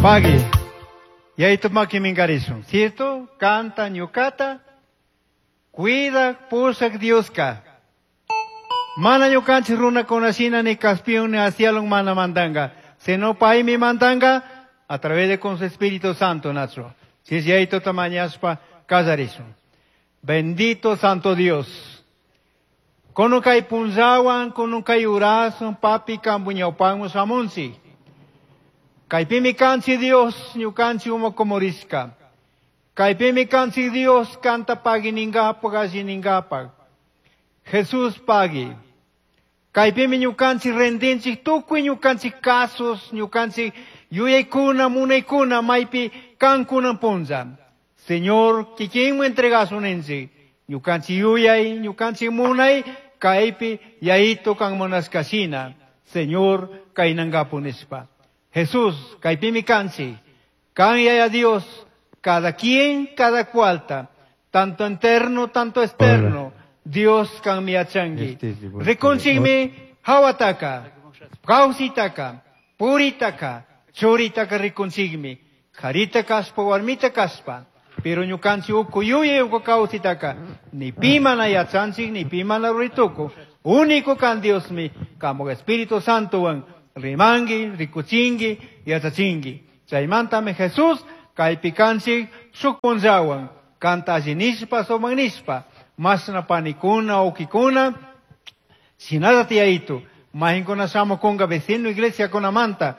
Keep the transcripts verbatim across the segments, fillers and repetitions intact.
Pagui. Yayito makiminkarishun. Cierto? Canta ñukata. Cuida pushak Dioska. Mana ñukanchik runakunashina ni kaspiwan ni acialwan mana mandanga. Sino paymi mandanga a través de con su Espíritu Santo nacho. Si es yayito tamañaspa kallarishun. Bendito Santo Dios. Kunan kay punllawan, kunan kay uraswan, papi kampu ñawpaman shamunchik. Kaypimi kanchik Dios, ñukanchik uma kumurishka. Kaypimi kanchik Dios, kanta pagui ningapak, alli ningapak. Jesús pagui. Kaypimi ñukanchik rendinchik, tukuy ñukanchik casos, ñukanchik yuyaykuna, munaykuna, maypi kankuna punlla. Señor, kikinman entregasun ninchik. Ñukanchik yuyay, ñukanchik munay, kaypi yayito kan munashkashina. Señor, kaynangapu nishpa. Jesús, kaypimi kanchik. Kan yaya Dios, cada quien, cada cualta, tanto interno, tanto externo, Dios kan yachangi. Este es el Rikunchikmi hawataka, kawsitaka, puritaka, churitaka rikunchikmi, karita kaspa, warmita kaspa, pero ñukanchik uku yuyay uku kawsitaka, ni pi mana yachanchik, ni pi mana rurituku, único kan Diosmi, kamo Espíritu Santo wan, rimangi, rikuchingi, yachachingi. Chaymantami Jesús, kaypi kanchik shuk punllawan, kanta alli nishpa, sumak nishpa, mashna panikuna, ukikuna, shinallata yayito, majinkuna shamukunga vecino iglesia kunamanta,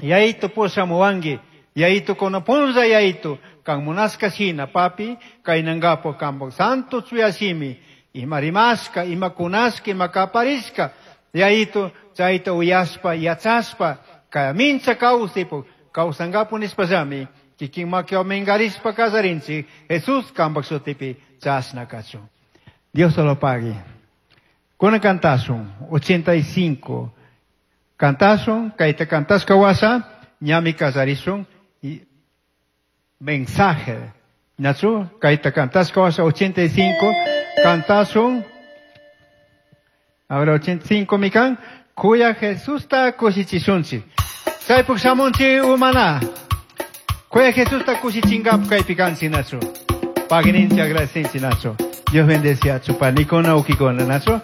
yayito pushamuwanki, yayito kuna punlla yayito, kan munashka shina, papi, kaynangapo kampak santo chuya shimi, ima rimashka, ima kunashka, ima kaparishka, yayito, chayta uyashpa, yachashpa, kaya mincha kawsaypuk, kawsangapu nishpallami, kikin makiwan minkarishpa kallarinchik, Jesús kampak shutipi chashna kachun. Dios se lo pague. Kuna kantashun, ochenta y cinco. Kantashun, kayta kantashka washa, ñami kallarishun, y mensaje. Nachu, kayta kantashka washa, ochenta y cinco, kantashun, ahora ochenta y cinco mikan, kuya Jesusta kushichishunchik. Chaypuk shamunchik umana. Kuya Jesusta kushichingap kaypi kanchik nachu. Pagui ninchik agradecinchik nachu. Dios bendecia panikuna ukikuna nachu.